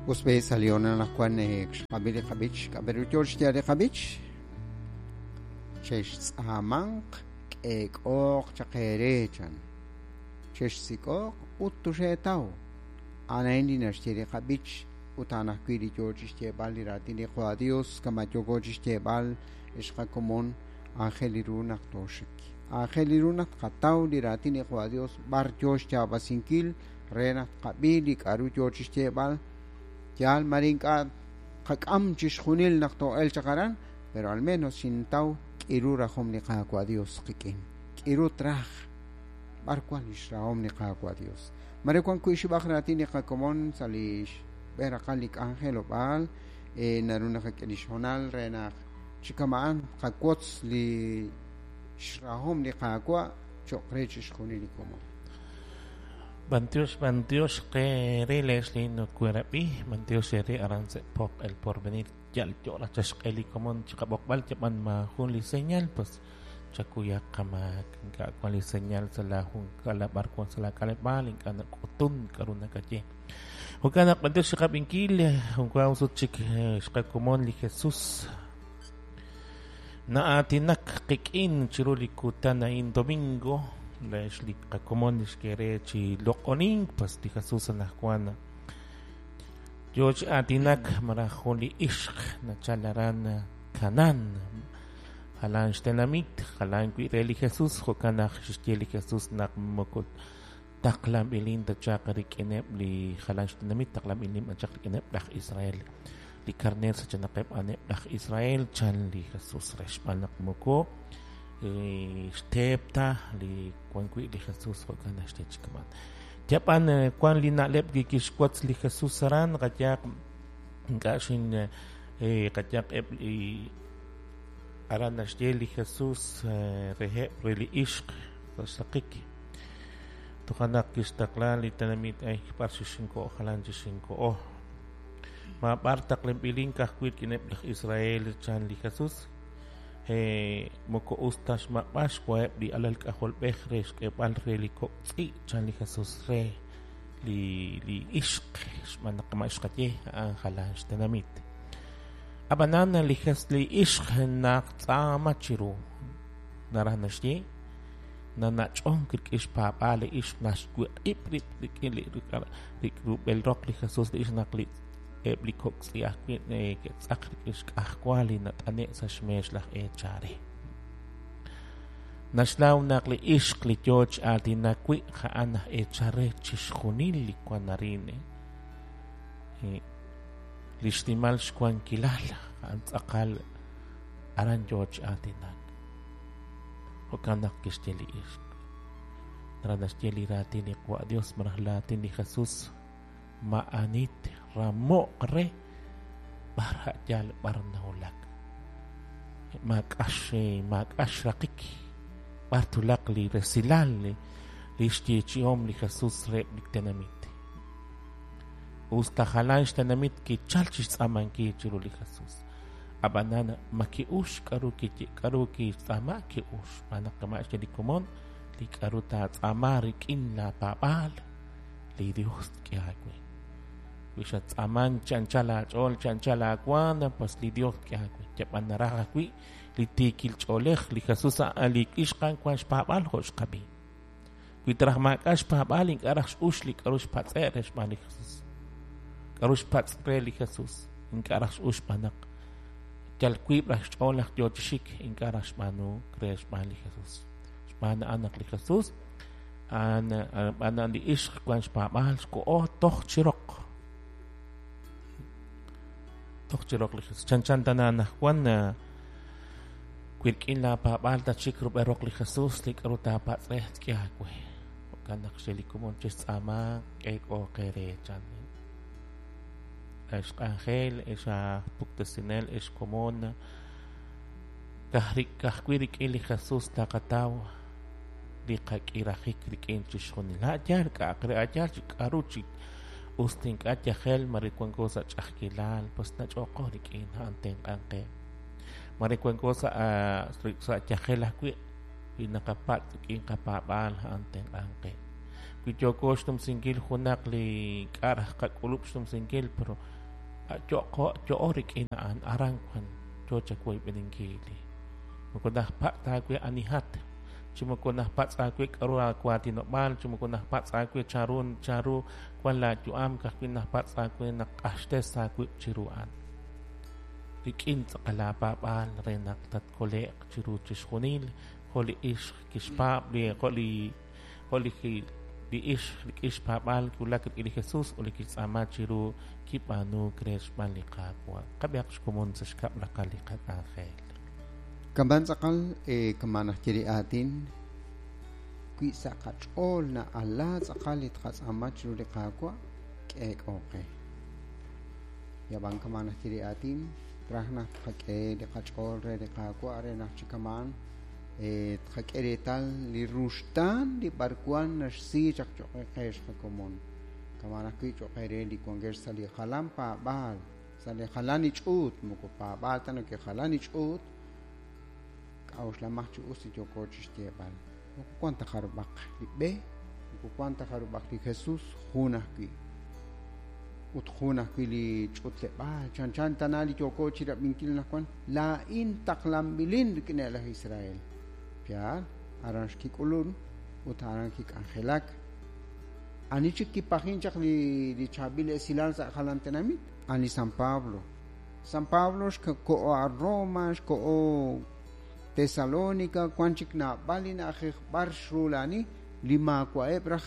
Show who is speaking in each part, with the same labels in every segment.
Speaker 1: Usbe salió na Juan xqab'i li qab'ich k'ab'eru yoo xyaal li qab'ich chextz'aamanq k'eek'ooq chaq eere chan chexsik'ooq ut tuxeetaw a'an li naxye li qab'ich ut a'an ajwi' li yoo chixyeeb'al li raatin li Qwa Dios kama yooko chixyeeb'al xqakomon aajel ru naq tooxik aajel ru naq tqataw li raatin li Qwa Dios b'ar yoo xyaab'asinkil re naq tqab'i li k'a'ru yoo chixyeeb'al yaal mare ink'a' qak'am chixjunil naq too'el chaq aran pero al menos xintaw k'iru rajom li Qaawa' Dios qik'in k'iru traj b'ar wan lix rahom li Qaawa' Dios mare wan wi' xib'aj raatin li qakomon sa' li xb'e raqal li k'anjelob'aal naru naqak'e li xhoonal re naq chi kama'an qawotz li xrahom li Qaawa' cho'q re chixjunil li komon.
Speaker 2: Bantiox, bantiox, que rele no kuerabi, bantiox re aranse pok el porvenir, yal yo la chashkeli komon chikabokbal chapan ma jun li señal, pues chakuya kama ka kwan li señal sa la jun kala barkwan sa la kalebal inka na kutun karuna kaye. Hukana bantiox chikabinkil, hunkwa usut chik shkakomon li Jesus. Na atinak kikin chiruli kutana in domingo. Lex li qakomon li xkere chi loq'onin pues li Jesus anajwan yo chi aatinak maraj jun li ixq nachal aran Canaan jalan xtenamit jalan wi' re li Jesus jo'kan naq xixye li Jesus naq moko taqlanb'ilin ta chaq rik'ineb' li jalan xtenamit taqlanb'ilin b'an chaq rik'ineb' laj Israel li karner sachanaqeb' aneb' laj Israel chan li Jesus re xb'aan naq moko xteep ta li wan wi' li Jesus jo'kan naxye chi kaman yab'an wan li na'leb' kixwotz li Jesus aran qayaq ink'a' xin qayaq eb' li aran naxye li Jesus reheb' re li ixq sa' xsaqik toja' naq kixtaqla li tenamit ay b'ar xixinko'o jalan chixinko'o ma b'ar taqlanb'ilin ka'ajwi' rik'ineb' laj Israel chan li Jesus moko us ta xmaq'b'al xwaheb' li alal k'ajolb'ej re xk'eeb'al re li kok' tz'i' chan li Jesus re li ixq xb'aan naq ma xqaye a'an jalan xtenamit ab'anan li li ixq naq tz'aama chiru naraj naxye nanach'onk rik'in xpaab'aal li ixq naxwiq'ib' rib' rik'in li rub'el roq li Jesus li ixq naq li eb' li kok' tz'i ajwi' ke'tz'aq rik'in xk'ajwa li nat'ane' sa' xmeex laj eechare naxnaw naq li ixq li yoo chi aatinak wi' a'an aj eechare chixjunil li wan arin li xnimal xwankilal a'an tz'aqal aran yoo chi aatinak jo'kan naq kixye li ixq naraj naxye li raatin li Qwa' Dios maraj laatin li Jesus ma'anit ramo'q re b'ar a'yal b'ar nawulak maak'ax raqik b'ar tulaq li resilal li xyeechi'om li Jesus reheb' li tenamit us ta jalan xtenamit kichal chixtz'aamankil chiru li Jesus ab'anan ma ki'ux k'aru k'aru kixtz'aama ki'ux xb'aan naq kama' xye li komon li k'aru taatz'aama rik'in laapaab'aal li Dios tk'e aawe wi xattz'aaman chi anchal aach'ool chi anchal aawan pues li Dios tk'e aawe yab'an naraj ajwi' li tiikil ch'oolej li Jesus li ixq a'an wan xpaab'aal jo' xqab'i wi taraj maak'a' xpaab'aal ink'a' raj x'ux li k'aru xpatz'e' re xb'aan li Jesus k'aru xpatz' re li Jesus ink'a' raj x'ux xb'aan naq yal wiib' raj xch'ool naq yoo chi xik ink'a' raj xb'aanu re xb'aan li Jesus xb'aan a'an naq li Jesus a'an b'aan li ixq wan xpaab'aal xko'o toj chi roq toj chi roq li Jesus chanchan tana anajwan wi rik'in laapaab'aal tachik rub'el roq li Jesus li k'aru taapatz' re tk'e aawe jo'kan naq xye li komon chixtz'aama k'eek'ooq eere chan ex k'anjel ex aj puktesinel ex komon ka'ajwi' rik'in li Jesus taqataw li qak'irajik rik'in chixjunil a'yaal k'a'aq re a'yaal chi k'aru chi us ink'a' yajel mare wanko sa' ch'a'ajkilal pues nach'ooqo rik'in a'an tenq'an qe mare wanko sa' yajel ajwi' wi naqapatz' rik'in qapaab'aal a'an tenq'an qe Wi yooko xnumsinkil junaq li k'a' raj qak'ulub' xnumsinkil, pero yo'o rik'in a'an, aran wan yo chawoyb'eninkil. Moko najpatz' aawe anihat, chi moko najpatz' aawe k'aru aawatinob'aal, chi moko najpatz' aawe chanru wan laayu'am, ka'ajwi' najpatz' aawe naq q'axtes aawib' chiru a'an. Rik'in tz'aqal aapaab'aal re naq tatkole'q chiru chixjunil, jo' li ixq kixpaab' li jo' li ixq rik'in xpaab'aal kiwulak rik'in li Jesus ut li kixtz'aama chiru kib'aanuuk re xb'aan li Qaawa'. Qab'ihaq xkomon sa' xkab' raqal li qak'anjel.
Speaker 1: Kama'an tz'aqal kama' najye li aatin wi sa' qach'ool na'ala tz'aqal li tqatz'aama chiru li Qaawa' k'eek'o qe. Yab'an kama' najye li aatin traj naq tqak'e li qach'ool re li Qaawa' re naq chi kama'an tqak'e reetal li ruxtaan li b'arwan naxsi chaq cho'q qe xqakomon. Kama'an ajwi' cho'q re li wankex sa' li jalan paab'aal, sa' li jalan li ch'uut, moko paab'aal ta nake jalan li ch'uut, k'a'uxlamaj chi us li yooko chixyeeb'al. Moko wan ta jarub'aq li b'e, moko wan ta jarub'aq li Jesus, jun ajwi'. Ut jun ajwi' li ch'utleb'aal, chanchan tana li yooko chirab'inkil anaqwan, laa'in taqlanb'ilin rik'in laj Israel. Yaal, aran xkik'ulun ut aran kik'anjelak. Ani chik kipajin chaq li chaab'il esilal sa' jalan tenamit? Ani San Pablo. San Pablo xko'o a Roma, xko'o Tesalónica, wan chik naab'al li na'ajej b'ar xrulani li maawa'eb' raj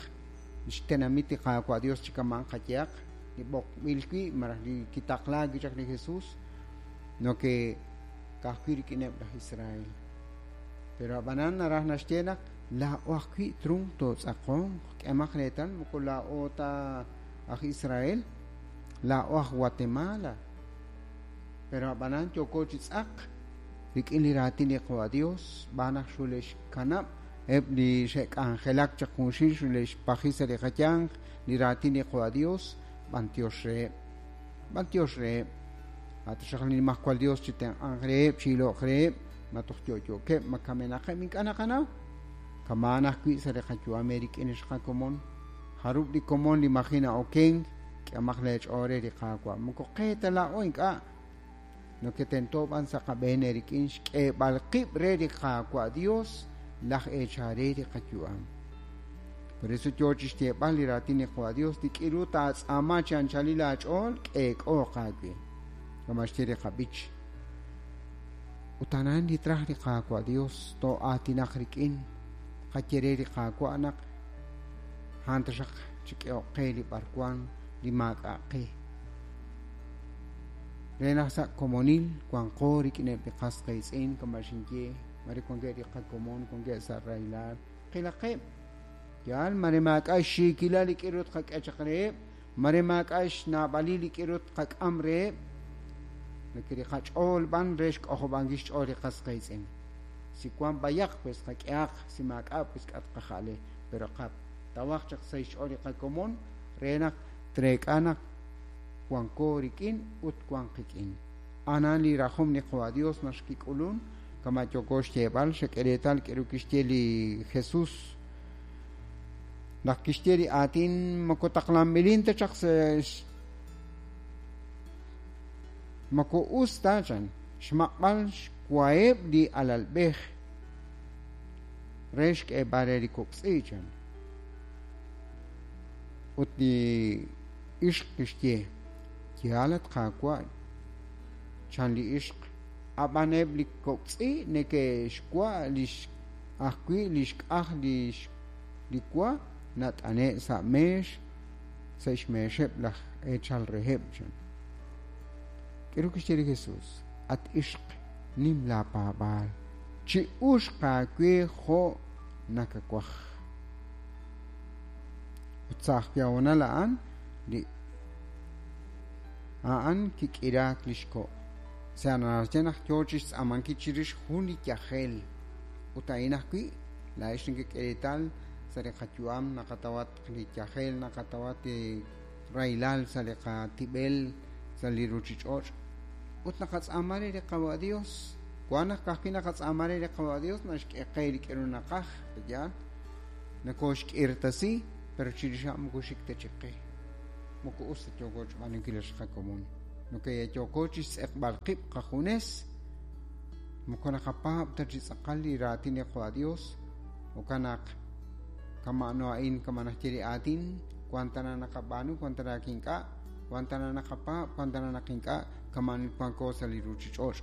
Speaker 1: xtenamit li Qaawa' Dios chi kama'an qayehaq, li b'oqb'il wi' malaj li kitaqlaak wi' chaq li Jesus, no ke ka'ajwi' rik'ineb' laj Israel. Pero ab'anan naraj naxye naq laa'o ajwi' trunk tootz'aqonq, k'emaq reetal moko laa'o ta aj Israel, laa'o aj Guatemala. Pero ab'anan yooko chi tz'aq rik'in li raatin li Qaawa' Dios, b'aan naq xule'xkanab' eb' li xe'k'anjelak chaq junxil xule'xpaji sa' li qayanq li raatin li Qaawa' Dios, b'antiox reheb'. B'antiox reheb'. Ataxaq li Nimajwal Dios chi tenq'anq reheb', chi ilo'q reheb', ma toj yo'yo'keb', ma kamenaqeb', ink'a' naqanaw. Kama'an ajwi' sa' li qayu'am rik'in xqakomon. Jarub' li komon li maji na'okenk, k'emaq leech'ool re li Qaawa'. Moko qe ta laa'o ink'a'. No ke tento b'an sa' qab'een rik'in xk'eeb'al qib' re li Qaawa' Dios laj eechare li qayu'am. Por eso yo chixyeeb'al li raatin li Qaawa' Dios li k'iru taatz'aama chi anchalil aach'ool k'eek'ooq aawe. Kama' xye li qab'ich. Ut anan li traj li Qaawa' Dios too'aatinaq rik'in qaye re li Qaawa' naq a'an taxaq chik'ehoq qe li b'arwan li maak'a' qe. Re naq sa' komonil wanqo rik'ineb' li qas qiitz'in kama' xinye, mare wankeb' li qakomon, wankeb' sa' rahilal, qilaqeb'. Yaal, mare maak'a' xxiikilal li k'iru tqak'e chaq reheb', mare maak'a' xnaab'alil li k'iru tqak'am reheb', nake li qach'ool b'an re xk'ojob'ankil xch'ool li qas qiitz'in. Si wan b'ayaq, pues qak'ehaq, si maak'a', pues k'a tqaja'le. Pero qatawaj chaq sa' xch'ool li qakomon re naq treek'a naq wanko rik'in ut wan qik'in. Anan li rajom li Qaawa' Dios naxkik'ulun, kama' yooko xyeeb'al, xak'e reetal k'eru kixye li Jesus. Naq kixye li aatin moko taqlanb'ilin ta chaq sa' moko us ta chan xmaq'b'al xwaheb' li alalb'ej re xk'eeb'al re li kok'tz'i chan. Ut li ixq kixye, yaal at Qaawa' chan li ixq, ab'an eb' li kok'tz'i neke'xwa' lix ajwi' li xk'aj li wa nat'ane' sa' meex sa' xmeexeb' laj eechal reheb' chan. K'eru kixye li Jesus, at ixq nim laapaab'aal, chi uxq aawe jo' nakawaj. Ut sa' ajwi' honal a'an li a'an kik'iraak li xko'. Sa' naxye naq yo chixtz'aamankil chirix jun li yajel. Ut a'in ajwi' laa'ex nekek'e reetal sa' li qayu'am naqatawat li yajel, naqatawat li rahilal sa' li qatib'el, sa' li ruchich'och'. Ut naqatz'aama re li Qaawa' Dios. Wan naq ka'ajwi' naqatz'aama re li Qaawa' Dios naxk'e qe li k'eru naqaj, yaal. Nakoxk'irtasi, Pero chirix a'an moko xik ta chik qe. Moko us ta yooko xb'aanunkil ex qakomon. Nokoyooko chi xtz'eqb'al qib' qajunes, moko naqapaab' ta chi tz'aqal li raatin li Qwa Dios, jo'kan naq kama'ano a'in kama naxye li aatin, wan tana naqab'aanu, wan tana ink'a', wan tana naqapaab', wan tana naq ink'a', kama wanko sa' li ruuchich'och'.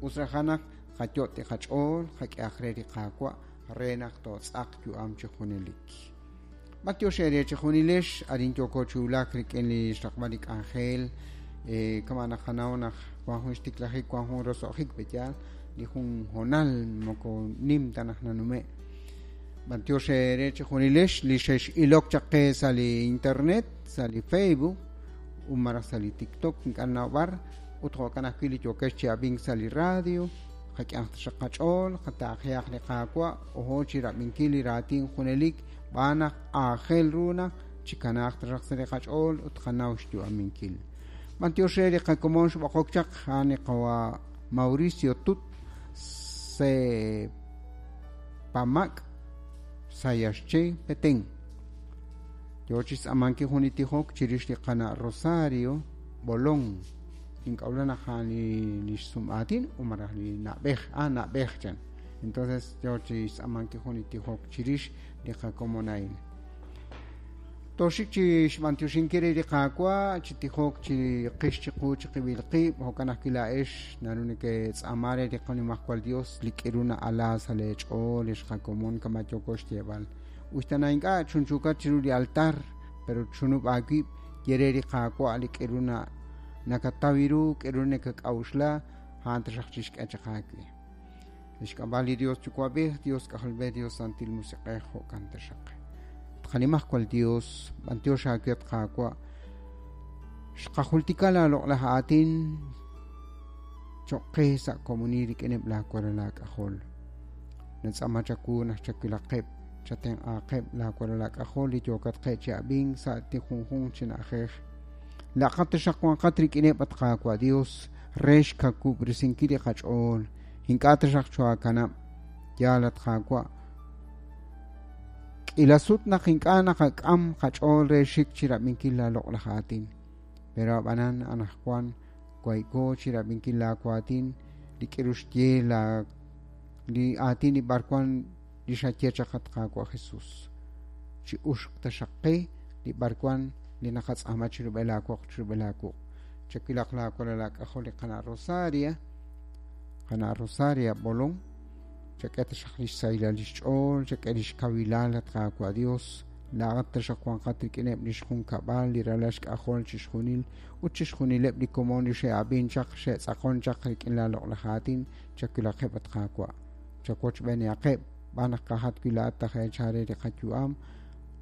Speaker 1: Us raj naq qayot' li qach'ool, qak'ehaq re li Qaawa' re naq tootz'aq yu'am chi junelik. B'antiox eere chi junilex, arin yooko chi wulak rik'in li xraqb'al li k'anjel, kama naqanaw naq wan jun xtiklajik, wan jun roso'jik pe'yaal, li jun hoonal moko nim ta naq nanume'. B'antiox eere chi junilex li xex'ilok chaq qe sa' li internet, sa' li Facebook, ut malaj sa' li TikTok ink'a' nawb'ar, ut jo'kan ajwi' li yookex chi ab'ink sa' li radio, qak'ehaq taxaq qach'ool, qataaqehaq li Qaawa', ojo chi rab'inkil li raatin junelik, b'aan naq aajel ru naq chikanaaq taxaq sa' li qach'ool ut qanaw xyu'aminkil. B'antiox re li qakomon xb'oqok chaq a'an li qawa Mauricio Tut se Pamak Sayaxche Petén. Yo chi xtz'amankil jun li tijok chirix li qana' Rosario Bolón. Ink'awla naq a'an li xsum'aatin o malaj li na'b'ej, na'b'ej chan. Entonces yo chi xtz'amankil jun li tijok chirix li qakomon a'in. Toxik chi xb'antioxinkil re li Qaawa', chi tijok chi qix chiqu chi qib'il qib', jo'kan ajwi' laa'ex naru neketz'aama re li Qanimajwal Dios li k'iru na'ala sa' leech'ool ex qakomon kama yooko xyeeb'al. Uxtana ink'a' chunchuukat chiru li altar, pero chunub' aawib' ye re li Qaawa' li k'iru nakataw ru, k'iru nakak'a'uxla, a'an taxaq chixk'e chaq aawe. Lix k'ab'a' li Dios Yuwa'b'ej, Dios K'ajolb'ej, Dios Santil Musiq'ej, jo'kan taxaq. Qanimajwal Dios, b'antiox aawe at Qaawa', xqajultika laaloq'laj aatin cho'q qe sa' komonil rik'ineb' laawalal aak'ajol. Natz'aama chawu naq chawilaqeb', chatenq'aaqeb' laawalal aak'ajol li yookat qe chi ab'ink sa' li junjunq chi na'ajej. Laqat taxaq wanqat rik'ineb' at Qaawa' Dios re xkawub'resinkil li qach'ool. Ink'a' taxaq choakanab', yaal at Qaawa'. K'ila sut naq ink'a' naqak'am qach'ool re xik chi rab'inkil laaloq'laj aatin. Pero ab'anan anaqwan wayko chi rab'inkil laawaatin li k'iru xye li aatin li b'arwan li xaye chaq at Qaawa' Jesus. Chi uxq taxaq qe li b'arwan li naqatz'aama chirub'el aawoq chirub'el aawuq'. Chawilaq laawalal aak'ajol li qana' Rosaria, qana' Rosaria Bolón, chak'e taxaq li xsahilal li xch'ool, chak'e li xkawilal at Qaawa' Dios, laa'at taxaq wanqat rik'ineb' li xjunkab'al, li ralal xk'ajol chixjunil, ut chixjunileb' li komon li xe'ab'in chaq, xe'tz'aqon chaq rik'in laaloq'laj aatin, chawilaqeb' at Qaawa'. Chawochb'eenihaqeb', b'aan naq qajat wi' laa'at tajeechare li qayu'am,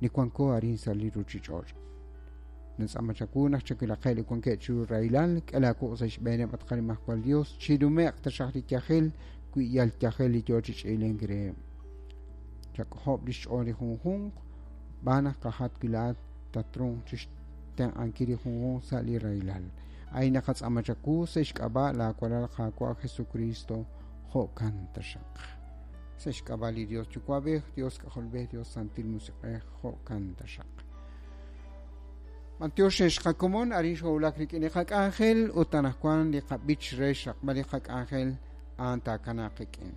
Speaker 1: li wanko arin sa' li ruuchich'och'. Natz'aama chawu naq chawilaqeb' li wankeb' chiru rahilal, k'e laawuq' sa' xb'eeneb' at Qanimajwal Dios, chirume'q taxaq li yajel, wi yal yajel li yoo chi ch'iilink reheb'. Chak'ojob' li xch'ool li junjunq, b'aan naq qajat wi' laa'at tatrunq chi xtenq'ankil li junjunq sa' li rahilal. Ay naqatz'aama chawu sa' xk'ab'a' laawalal Qaawa' Jesucristo, jo'kan taxaq. Sa' xk'ab'a' li Dios Yuwa'b'ej, Dios K'ajolb'ej, Dios Santil Musiq'ej, jo'kan taxaq. B'antiox ex qakomon arin xowulak rik'in li qak'anjel ut anaqwan li qab'ich re xraqb'al li qak'anjel a'an taakanaaq qik'in.